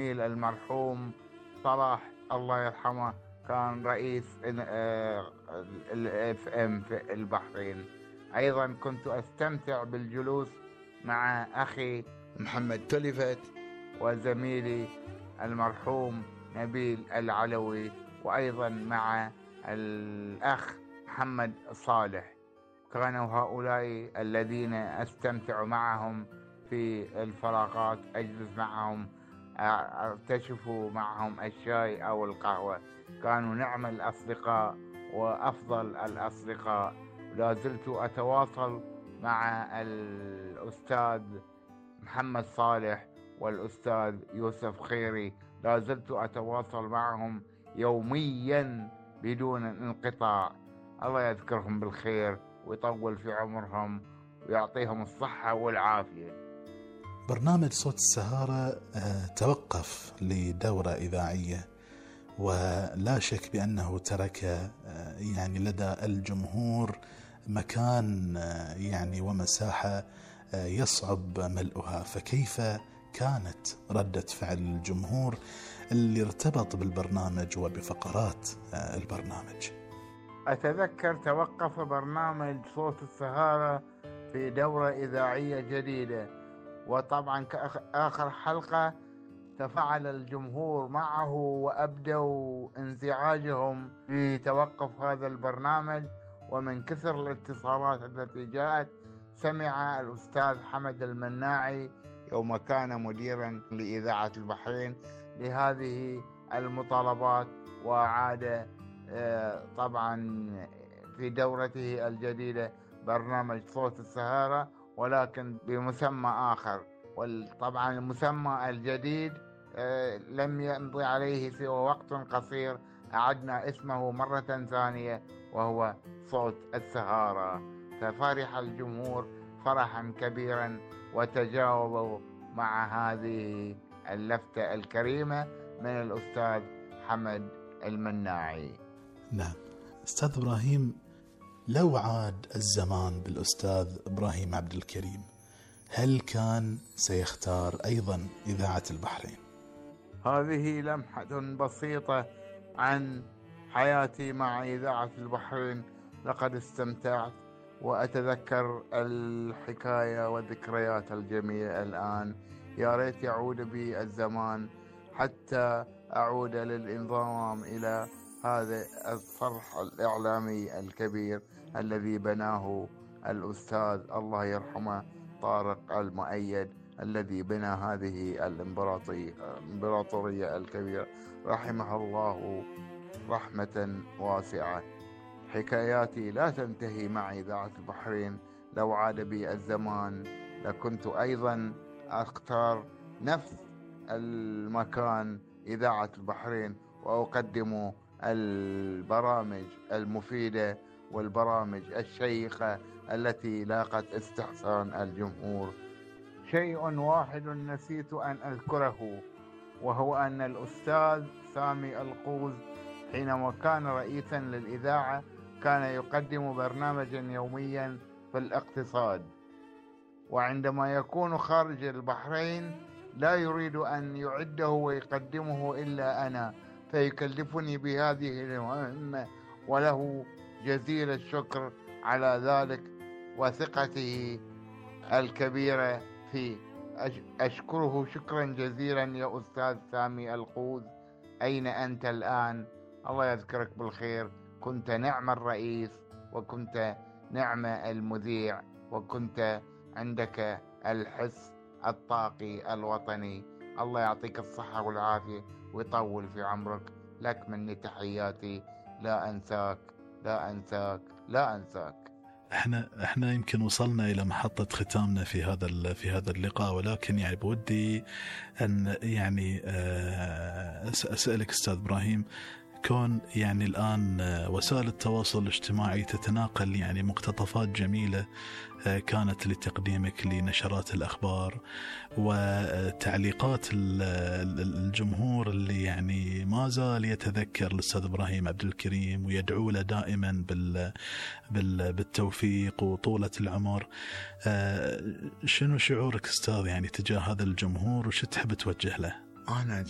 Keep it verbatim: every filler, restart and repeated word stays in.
المرحوم صلاح الله يرحمه كان رئيس الاف ام في البحرين. ايضا كنت استمتع بالجلوس مع اخي محمد تلفت وزميلي المرحوم نبيل العلوي، وايضا مع الاخ محمد صالح. كانوا هؤلاء الذين استمتع معهم في الفراغات، اجلس معهم اكتشف معهم الشاي او القهوة. كانوا نعم الأصدقاء وأفضل الأصدقاء. لا زلت أتواصل مع الأستاذ محمد صالح والأستاذ يوسف خيري، لا زلت أتواصل معهم يوميا بدون انقطاع. الله يذكرهم بالخير ويطول في عمرهم ويعطيهم الصحة والعافية. برنامج صوت السهارة توقف لدورة إذاعية، ولا شك بأنه ترك يعني لدى الجمهور مكان يعني ومساحة يصعب ملؤها. فكيف كانت ردة فعل الجمهور اللي ارتبط بالبرنامج وبفقرات البرنامج؟ أتذكر توقف برنامج صوت السهارة في دورة إذاعية جديدة، وطبعا كآخر حلقة تفاعل الجمهور معه وأبدوا انزعاجهم في توقف هذا البرنامج. ومن كثر الاتصالات التي جاءت سمع الأستاذ حمد المناعي يوم كان مديرا لإذاعة البحرين لهذه المطالبات، وعاد طبعا في دورته الجديدة برنامج صوت السهارة ولكن بمسمى آخر. وطبعا المسمى الجديد لم يمضي عليه سوى وقت قصير، أعدنا اسمه مرة ثانية وهو صوت السهارة. ففرح الجمهور فرحا كبيرا وتجاوبوا مع هذه اللفتة الكريمة من الأستاذ حمد المناعي. نعم أستاذ إبراهيم، لو عاد الزمان بالأستاذ إبراهيم عبد الكريم، هل كان سيختار أيضا إذاعة البحرين؟ هذه لمحة بسيطة عن حياتي مع إذاعة البحرين. لقد استمتعت وأتذكر الحكاية والذكريات الجميلة الآن. يا ريت يعود بي الزمان حتى أعود للانضمام إلى هذا الصرح الإعلامي الكبير الذي بناه الأستاذ الله يرحمه طارق المؤيد، الذي بنى هذه الإمبراطورية الكبيرة رحمه الله رحمة واسعة. حكاياتي لا تنتهي مع إذاعة البحرين. لو عاد بي الزمان لكنت أيضا أختار نفس المكان إذاعة البحرين وأقدم البرامج المفيدة والبرامج الشيقة التي لاقت استحسان الجمهور. شيء واحد نسيت أن أذكره، وهو أن الأستاذ سامي القوز حينما كان رئيسا للإذاعة كان يقدم برنامجا يوميا في الاقتصاد، وعندما يكون خارج البحرين لا يريد أن يعده ويقدمه إلا أنا، فيكلفني بهذه المهمة، وله جزيل الشكر على ذلك وثقته الكبيرة في. أشكره شكرا جزيلا يا أستاذ سامي القوز. أين أنت الآن؟ الله يذكرك بالخير. كنت نعم الرئيس، وكنت نعم المذيع، وكنت عندك الحس الطاقي الوطني. الله يعطيك الصحة والعافية ويطول في عمرك. لك مني تحياتي. لا أنساك لا أنساك لا أنساك. احنا احنا يمكن وصلنا الى محطة ختامنا في هذا في هذا اللقاء، ولكن يعني بودي ان يعني اسالك استاذ ابراهيم، كون يعني الآن وسائل التواصل الاجتماعي تتناقل يعني مقتطفات جميلة كانت لتقديمك لنشرات الأخبار وتعليقات الجمهور اللي يعني ما زال يتذكر الأستاذ إبراهيم عبد الكريم ويدعو له دائما بالتوفيق وطولة العمر. شنو شعورك أستاذ يعني تجاه هذا الجمهور وش تحب توجه له؟ أنا